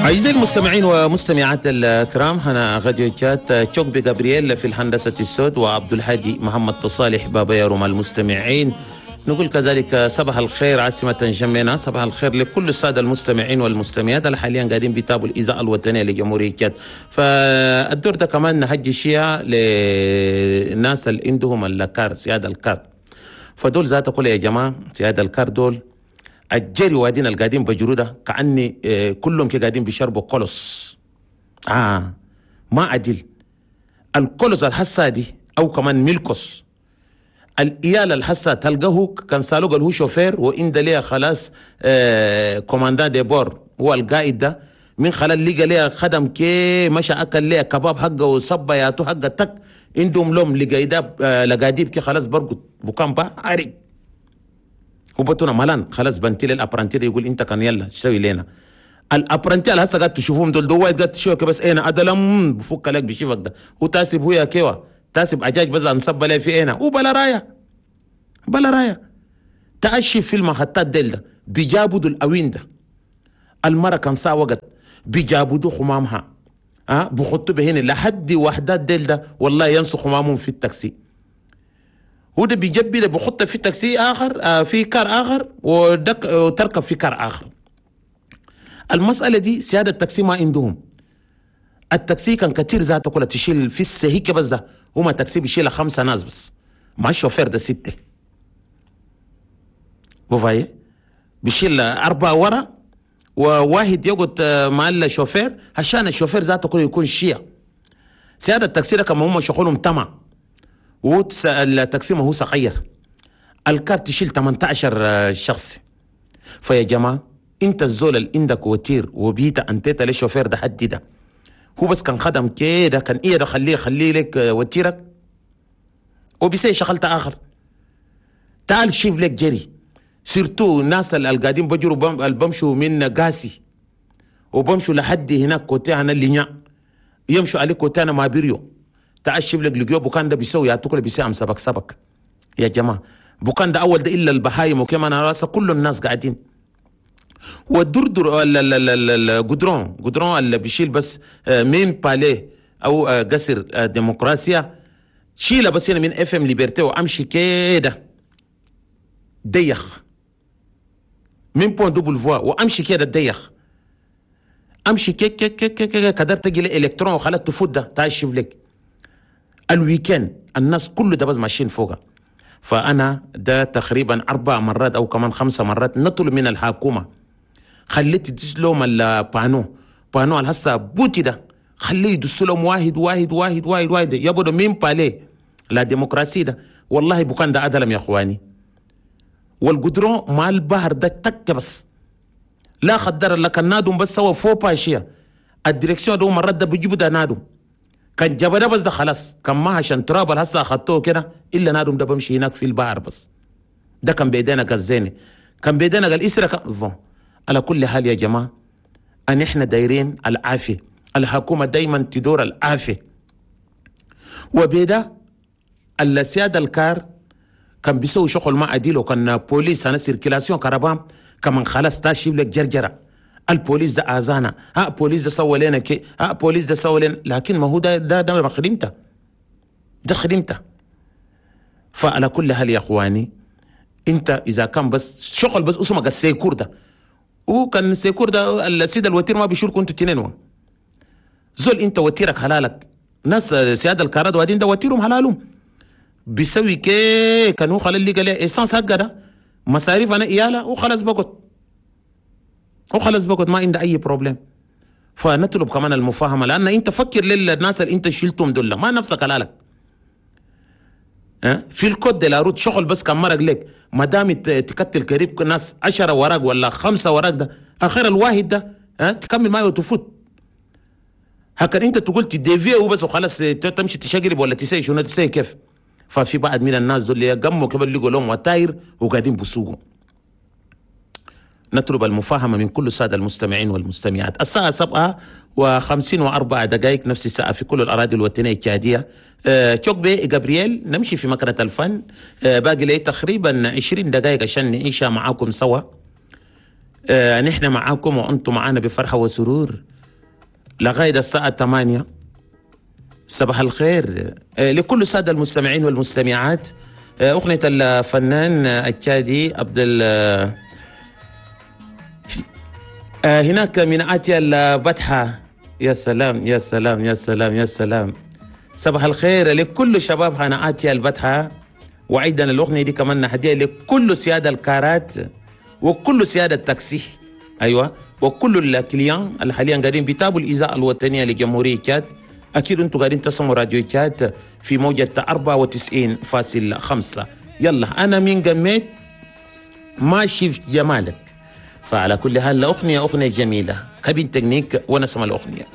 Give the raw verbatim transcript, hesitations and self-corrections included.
أعزائي المستمعين ومستمعات الكرام، هنا راديو تشاد، تشوك جابرييل في الهندسة الصوت وعبد الهادي محمد صالح بابا يروم المستمعين. نقول كذلك صباح الخير عاصمة انجمينا، صباح الخير لكل السادة المستمعين والمستمعات اللي حاليا قاعدين بيتابعوا الإذاعة الوطنية لجمهورية تشاد. فالدور ده كمان نهجي شيء للناس اللي عندهم الكار، سيادة الكار. فدول ذات كل يا جماعة سيادة الكار دول الجري وادين القاعدين بجرو ده كأني آه، كلهم كي قاعدين بيشربوا كولوس. آه ما عدل الكولوس الحسة دي أو كمان ميلكوس الإيال الحسة تلقاه كان سالو قال هو شوفير وإن ليه خلاص آه commandant de bord هو القائد ده من خلال لقى ليه خدم كي مشى أكل ليه كباب حقه وصب ياتو حقه تك عندهم لهم لقيداب آه لقاديب كي خلاص برقد بكام با عري وبتونا ملان خلاص بنتي لل apprenti يقول انت كان يلا تسوي لنا ال apprenti اللي هسه قاعد تشوفهم دول دول قاعد تشوف بس انا ادلم بفك لك بشيفك ده وتاسب هو يا كيوا تاسب عجاج بس انصب لي في انا وبلا رايه بلا رايه تأشي في المحطات ديل ده بيجابوا الاوين ده المرة كان ساعة وقت بيجابوا خمامها ها أه؟ بخطوا بهنا لحد وحدات ديل ده والله ينسوا خمامهم في التاكسي. هو ده بيجبي ده بخطه في تاكسي اخر آه في كار اخر ودك وتركب في كار اخر. المسالة دي سيادة التاكسي ما عندهم. التاكسي كان كتير ذاته كلها تشيل في السهيكه بس ده هما تاكسي بيشيل خمسة ناس بس مع الشوفير ده ستة. vous voyez بيشيل اربعة ورا وواحد يقعد مع الشوفير عشان الشوفير ذاته كله يكون شيع. سيادة التاكسي ده كما هم شغلهم تمام والتاكسي ما هو صغير الكار تشيل ثمانية عشر شخص. فيا جماعة انت الزول اللي عندك وتير وبيتا انتيتا للشوفير ده حد ده هو بس كان خدم كده كان ايه ده خليه خليه لك وتيرك وبيسي شغلت اخر. تعال شوف لك جري surtout الناس اللي قاعدين بجروا بمشوا من قاسي وبمشوا لحد هناك côté انا اللي يمشوا عليه côté انا ما بيريو. تعال شوف لك لقيو بكان ده بيسوي يعطوك بيسوي سبك سبك يا جماعة. بكان ده اول ده الا البهايم وكمان راسه كل الناس قاعدين والدردر ال goudron goudron اللي بيشيل بس من palais او قصر ديمقراسيا شيله بس هنا من FM Liberté وامشي كده ديخ من pont double voie وامشي كده ديخ امشي كي كي كي كي كي كدر تجي الالكترون وخلاص تفوت ده تعال شوف لك ال week-end الناس كله ده بس ماشيين فوقها. فانا ده تقريبا اربع مرات او كمان خمسة مرات نطلب من الحكومة خليت تدس لهم ال panneau panneau هسه بوتي ده خليه يدس لهم واحد واحد واحد واحد واحد يبدو من palais la démocratie ده والله بكان ده ادلم يا اخواني. والقدرون مع البحر ده تك بس لا خدر لك النادم بس سوا فوق باشية ال direction ده مرات ده بيجيبوا ده نادم كان جبده بس ده خلاص كان ما عشان تراب هسه اخذتوه كده الا نادم ده بمشي هناك في البحر بس ده كان بيدينا قزيني كان بيدينا قال اسرة كان على كل حال يا جماعة ان احنا دايرين العافية. الحكومة دايما تدور العافية وبيدا السيادة الكار كان بيسوي شغل ما عديل وكان بوليس انا circulation كربام كمان خلاص تاشيب لك جرجره البوليس ده اذانا ها بوليس ده سوى لنا كي ها بوليس ده سوى لنا لكن ما هو ده ده ده خدمته ده خدمته. فعلى كل حال يا اخواني انت اذا كان بس شغل بس اسمك ال secours ده وكان ال secours ده السيد الوتير ما بيشيلكم انتوا تنين زول انت وتيرك حلالك ناس سيادة الكارات وادين ده وتيرهم حلالهم بيسوي كي كان هو خلال اللي قال essence حقه ده مصاريف انا اياله وخلاص بقت وخلاص بقت ما عنده اي problème. فنطلب كمان المفاهمه لان انت فكر للناس اللي انت شلتهم دول ما نفسك حلالك أه؟ في ال code de la route شغل بس كان مرق لك ما دام تكتل قريب ناس عشرة وراك ولا خمسة وراك ده اخر الواحد ده أه؟ تكمل معي وتفوت. هكذا انت تقول ت dévier وبس وخلاص تمشي تشقلب ولا تسي شنو تسي كيف. ففي بعض من الناس دول اللي قموا كبر لقوا لهم وتاير وقاعدين بسوقوا. نطلب المفاهمة من كل السادة المستمعين والمستمعات. الساعة سبعة وخمسين وأربع دقائق نفس الساعة في كل الأراضي الوطنية التشادية. أه تشوكبي جابرييل نمشي في مكنة الفن. أه باقي لي تقريبا عشرين دقائق عشان نعيشها معاكم سوا. أه نحن معاكم وأنتم معانا بفرحة وسرور. لغاية الساعة ثمانية. صباح الخير لكل السادة المستمعين والمستمعات. أغنية الفنان التشادي عبد ال هناك من آتي البتحة. يا سلام يا سلام يا سلام يا سلام. صباح الخير لكل شباب هنا آتي البتحة. وأيضا الأغنية دي كمان هدية لكل سيادة الكارات وكل سيادة التاكسي، أيوة، وكل ال clients اللي حاليا قاعدين بيتابعوا الإذاعة الوطنية لجمهورية تشاد. أكيد أنتم قاعدين تسمعوا راديو تشاد في موجة أربعة وتسعين فاصل خمسة. يلا أنا من قميت ما شفت جمالك. فعلى كل حال أغنية أغنية جميلة، cabine technique ونسمع الأغنية.